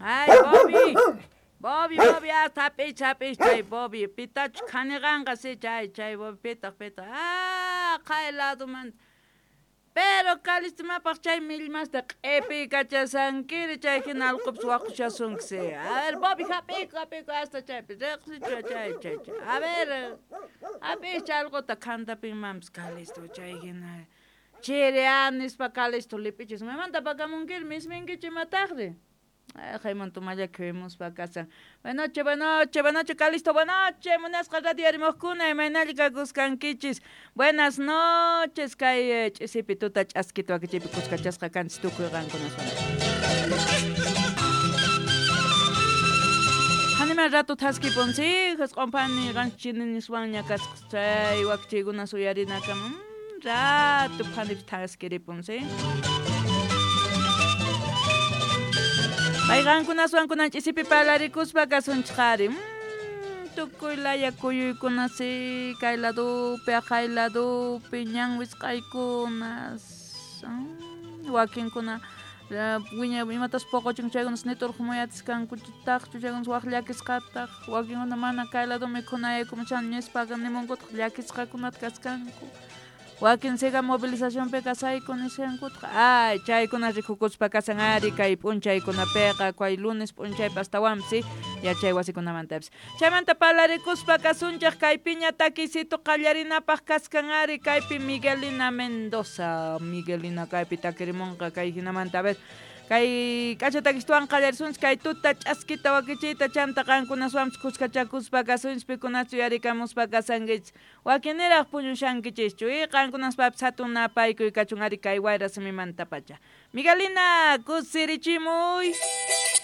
Ay, Bobby. Bobby, Bobby, hasta hap'ich, hap'ich chay Bobby. Pitachus khaniqanqa si chay, chay Bobby pitaq, pitaq. Ah, qhay ladumanta. Pero Calistimapaq chay millmasta q'ipiykachasankiri chay hina allqupis waqushasunki si. A ver, Bobby, hap'iyku, hap'iyku hasta chaypi. Riqsichu chay, chay, chay. A ver, hap'ich allquta khantapinmanpis Calisto chay hina. Chiri a nispa Calisto lipichis. Maymanta pakamunkiri misminkichu imataqri? Jaimonto mallaki kasan. Buenas noches, buenas noches, buenas noches, Calisto, buenas noches, munasqa radio arimojkuna, imaynalla kakuskankichis. Buenas noches, kay ch'isipi tuta ch'askita wakichiypi kuskachasqa kanchis tukuy qankunaswan. Hanima rato thaskipun, sí, jisq'unpani qanchis niswanña kasqa chay wakichiykuna suyarinakama. Rato phanipis thaskiripun, sí. Payqankunaswan kunan ch'isipi parlarikuspa kasunchik ari. Tukuy laya kuyuykuna si, kay ladupi, aqhay ladupi, ñan wisq'aykunas. Wakinkuna wiña imatas poqochin chaykunas niturqumuyatiskankuchitaqchu chaykunas waq llakisqataq, wakinkuna mana kay lado mikhunayaykuchan nispaqa nimunkutaq llakisqakunata kaskanku. Wakin siga movilizacionpi kasayku nishankutaq. Ay, chaykuna rikukuspa kasan ari kay p'unchaykunapiqa, kay lunes p'unchaypi astawanpis yachay wasikunamantapis. Chaymanta parlarikuspa kasunchik kaypiña takisito qallarinapaq kaskan ari kaypi Miguelina Mendoza. Miguelina kaypi takirimunqa kay hinamanta a ver. Kay k'acha takistuwan qallarisunchik kay tuta ch'askita wakichiyta chanta qankunaswanpis kuskachakuspa kasunchik pikunachu yarikamuspa kasankichis. Wakiniraq puñushankichischu y qankunaspapis hatun napaykuy kachun ari kay wayra simimantapacha. Miguelina, kusirichimuy.